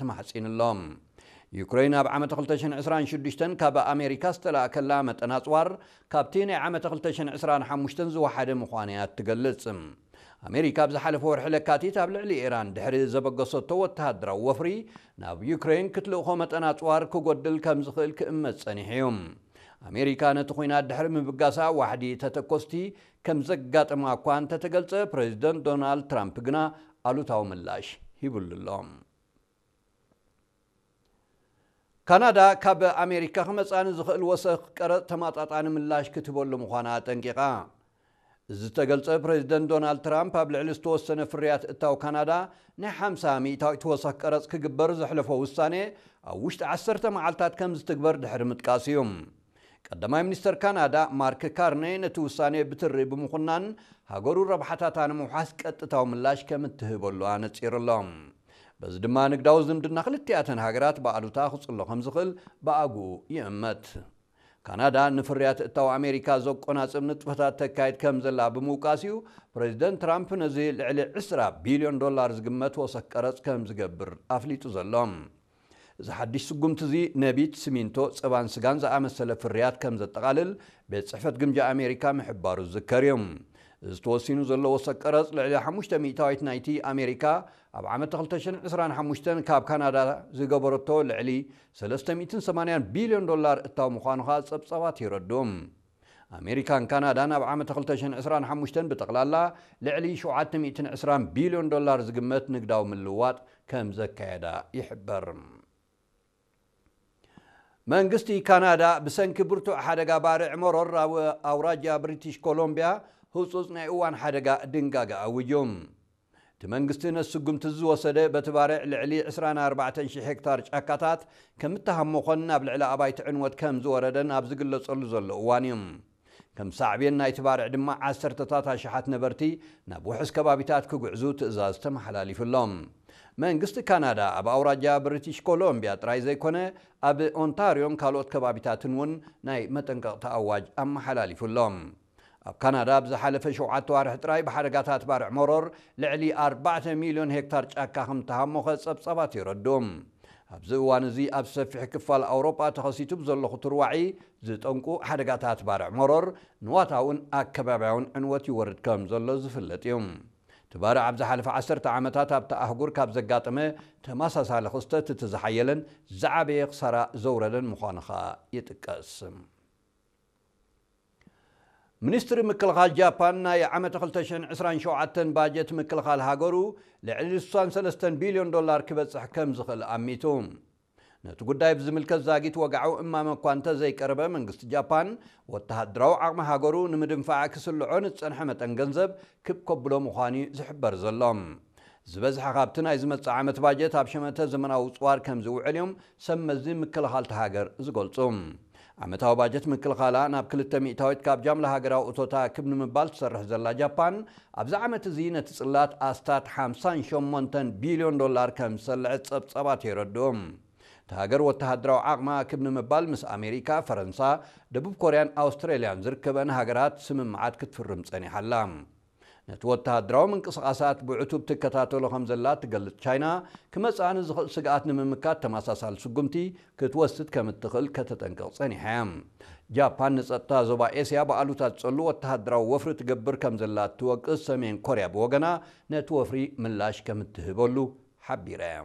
ተማሕጺኑ ኣሎ። ዩክሬን ኣብ ዓመት ክልተ ሽሕን ዕስራን ሽዱሽተን ካብ ኣሜሪካ ዝተላእከላ መጠን ኣጽዋር ካብቲ ናይ ዓመት ክልተ ሽሕን ዕስራን ሓሙሽተን ዝወሓደ ምዃኑ እያ እትገልጽ። ኣሜሪካ ኣብ ዝሓለፈ ወርሒ ለካቲት ኣብ ልዕሊ ኢራን ድሕሪ ዘበገሰቶ ወተሃደራዊ ወፍሪ ናብ ዩክሬን ክትልእኾ መጠን ኣጽዋር ክጎድል ከም ዝኽእል ክእመት ጸኒሑ እዩ። ኣሜሪካ ነቲ ኲናት ድሕሪ ምብጋሳ ዋሕዲ ተተኮስቲ ከም ዘጋጠማ እኳ እንተተገልጸ፣ ፕሬዚደንት ዶናልድ ትራምፕ ግና ኣሉታዊ ምላሽ ሂብሉ ኣሎ። ካናዳ ካብ ኣሜሪካ ክመጻ ንዝኽእል ወሰኽ ቀረጽ ተማጣጣኒ ምላሽ ክትህበሉ ምዃና ኣጠንቂቓ። እዚ ዝተገልጸ ፕሬዚደንት ዶናልድ ትራምፕ ኣብ ልዕሊ ዝተወሰነ ፍርያት እታው ካናዳ ናይ ሓምሳ ሚእታዊት ወሰኽ ቀረጽ ክግበር ዘሕለፎ ውሳኔ ኣብ ውሽጢ ዓሰርተ መዓልታት ከም ዝትግበር ድሕሪ ምጥቃስ እዩ። ቀዳማይ ሚኒስተር ካናዳ ማርክ ካርኔ ነቲ ውሳኔ ብትሪ ብምኹናን ሃገሩ ረብሓታታ ንምውሓስ ቀጥታዊ ምላሽ ከም እትህበሉ ኣነጺሩ ኣሎ። በዚ ድማ ንግዳዊ ዝምድና ክልቲኣተን ሃገራት ብኣሉታ ክጽሎ ከም ዝኽእል ብኣግኡ ይእመት። ካናዳ ንፍርያት እታው ኣሜሪካ ዘቆናጽብ ንጥፈታት ተካይድ ከም ዘላ ብምውቃስ እዩ ፕሬዚደንት ትራምፕ ነዚ ልዕሊ ዕስራ ቢልዮን ዶላር ዝግመት ወሰኽ ቀረጽ ከም ዝገብር ኣፍሊጡ ዘሎ። እዚ ሓድሽ ስጉምቲ እዚ ነቢት፣ ሲሚንቶ፣ ጸባን ስጋን ዝኣመሰለ ፍርያት ከም ዘጠቓልል ቤት ጽሕፈት ግምጃ ኣሜሪካ ምሕባሩ ዝዝከር እዩ። እዚ ተወሲኑ ዘሎ ወሰኽ ቀረጽ ልዕሊ ሓሙሽተ ሚእታዊት ናይቲ ኣሜሪካ ኣብ ዓመት ክልተ ሽሕን ዕስራን ሓሙሽተን ካብ ካናዳ ዝገበረቶ ልዕሊ ሰለስተ ሚእትን ሰማንያን ቢልዮን ዶላር እታው ምዃኑ ኸኣ ጸብጻባት የረድኡ። ኣሜሪካን ካናዳን ኣብ ዓመት ክልተ ሽሕን ዕስራን ሓሙሽተን ብጠቕላላ ልዕሊ ሸውዓተ ሚእትን ዕስራን ቢልዮን ዶላር ዝግመት ንግዳዊ ምልውዋጥ ከም ዘካየዳ ይሕበር። መንግስቲ ካናዳ ብሰንኪ ብርቱዕ ሓደጋ ባርዕ መሮር ኣብ ኣውራጃ ብሪቲሽ ኮሎምቢያ ህጹጽ ናይ እዋን ሓደጋ ድንጋገ ኣዊጁ። እቲ መንግስቲ ነቲ ስጉምቲ ዝወሰደ በቲ ባርዕ ልዕሊ ዕስራን ኣርባዕተን ሽሕ ሄክታር ጫካታት ከም እተሃሞኸን ናብ ልዕሊ ኣባይቲ ዕንወት ከም ዝወረደን ኣብ ዝግለጸሉ ዘሎ እዋን እዩ። ከም ሳዕቤን ናይቲ ባርዕ ድማ ዓሰርተታት ኣሽሓት ነበርቲ ናብ ውሑስ ከባቢታት ክጉዕዙ ትእዛዝ ተመሓላሊፉሎም። መንግስቲ ካናዳ ኣብ ኣውራጃ ብሪቲሽ ኮሎምቢያ ጥራይ ዘይኮነ ኣብ ኦንታርዮን ካልኦት ከባቢታትን እውን ናይ መጠንቀቕታ ኣዋጅ ኣመሓላሊፉሎም። ኣብ ካናዳ ኣብ ዝሓለፈ ሸውዓተ ዋርሒ ጥራይ ብሓደጋታት ባርዕ መሮር ልዕሊ ኣርባዕተ ሚልዮን ሄክታር ጫካ ከም ተሃሞኸ ጸብጻባት የረድኡ። ኣብዚ እዋን እዚ ኣብ ሰፊሕ ክፋል ኣውሮጳ ተኸሲቱ ብዘሎ ክትርዋዒ ዝጠንቁ ሓደጋታት ባርዕ መሮር ንዋታውን ኣከባብያውን ዕንወት ይወርድ ከም ዘሎ ዝፍለጥ እዩ። እቲ ባርዕ ኣብ ዝሓለፈ ዓሰርተ ዓመታት ኣብቲ ኣህጉር ካብ ዘጋጠመ ተመሳሳሊ ክስተት እቲ ዝሓየለን ዝዓበየ ክሳራ ዘውረደን ምዃኑ ኸኣ ይጥቀስ። ሚኒስትሪ ምክልኻል ጃፓን ናይ ዓመት ክልተ ሽሕን ዕስራን ሸውዓተን ባጀት ምክልኻል ሃገሩ ልዕሊ ስሳን ሰለስተን ቢልዮን ዶላር ክበጽሕ ከም ዝኽእል ኣሚቱ። ነቲ ጉዳይ ብዝምልከት ዛጊት ወግዓዊ እማመ እኳ እንተዘይቀረበ፣ መንግስቲ ጃፓን ወተሃደራዊ ዓቕሚ ሃገሩ ንምድንፋዕ ክስልዖ ንዝጸንሐ መጠን ገንዘብ ክብ ከብሎ ምዃኑ እዩ ዝሕበር ዘሎ። ዝበዝሐ ካብቲ ናይ ዝመጽእ ዓመት ባጀት ኣብ ሸመተ ዘመናዊ ጽዋር ከም ዝውዕል እዮም ሰብ መዚ ምክልኻል እታ ሃገር ዝገልጹ። ዓመታዊ ባጀት ምክልኻላ ናብ ክልተ ሚእታዊት ካብ ጃምላ ሃገራዊ እቶታ ክብ ንምባል ትሰርሕ ዘላ ጃፓን፣ ኣብዚ ዓመት እዚ ነቲ ጽላት ኣስታት ሓምሳን ሸሞንተን ቢልዮን ዶላር ከም ዝሰልዐት ጸብጻባት የረድኡ። እታ ሃገር ወተሃደራዊ ዓቕማ ክብ ንምባል ምስ ኣሜሪካ፣ ፈረንሳ፣ ደቡብ ኮርያን ኣውስትራልያን ዝርከበን ሃገራት ስምምዓት ክትፍርም ጸኒሓ ኣላ። ነቲ ወተሃደራዊ ምንቅስቓሳት ብዕቱብ ትከታተሎ ከም ዘላ ትገልጽ ቻይና፣ ክመጽኣ ንዝኽእል ስግኣት ንምምካት ተመሳሳሊ ስጉምቲ ክትወስድ ከም እትኽእል ከተጠንቅቕ ጸኒሓ እያ። ጃፓን ንጸጥታ ዞባ ኤስያ ብኣሉታ ዝጸሉ ወተሃደራዊ ወፍሪ ትገብር ከም ዘላ እትወቅስ ሰሜን ኮርያ ብወገና፣ ነቲ ወፍሪ ምላሽ ከም እትህበሉ ሓቢራ እያ።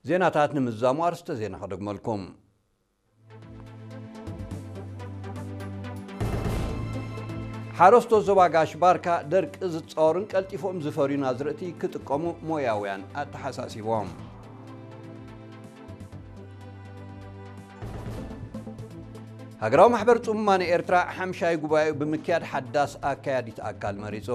ዜናታት ንምዝዛሙ ኣርስተ ዜና ከደግመልኩም። ሓረስቶት ዞባ ጋሽ ባርካ ደርቂ ዝጻወሩን ቀልጢፎም ዝፈርዩን ኣዝርእቲ ክጥቀሙ ሞያውያን ኣተሓሳሲቦም። ሃገራዊ ማሕበር ጽሙማን ኤርትራ ሓምሻይ ጉባኤኡ ብምክያድ ሓዳስ ኣካያዲት ኣካል መሪጹ።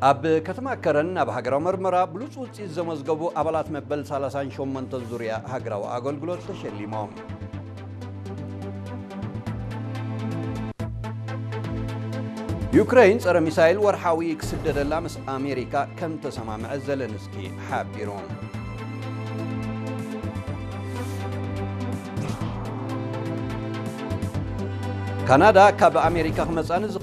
ኣብ ከተማ ከረን ናብ ሃገራዊ መርመራ ብሉጽ ውጽኢት ዘመዝገቡ ኣባላት መበል ሰላሳን ሸሞንተን ዙርያ ሃገራዊ ኣገልግሎት ተሸሊሞም። ዩክረይን ጸረ ሚሳይል ወርሓዊ ክስደደላ ምስ ኣሜሪካ ከም ተሰማምዐ ዘለንስኪ ሓቢሩ። ካናዳ ካብ ኣሜሪካ ክመጻ ንዝኽእል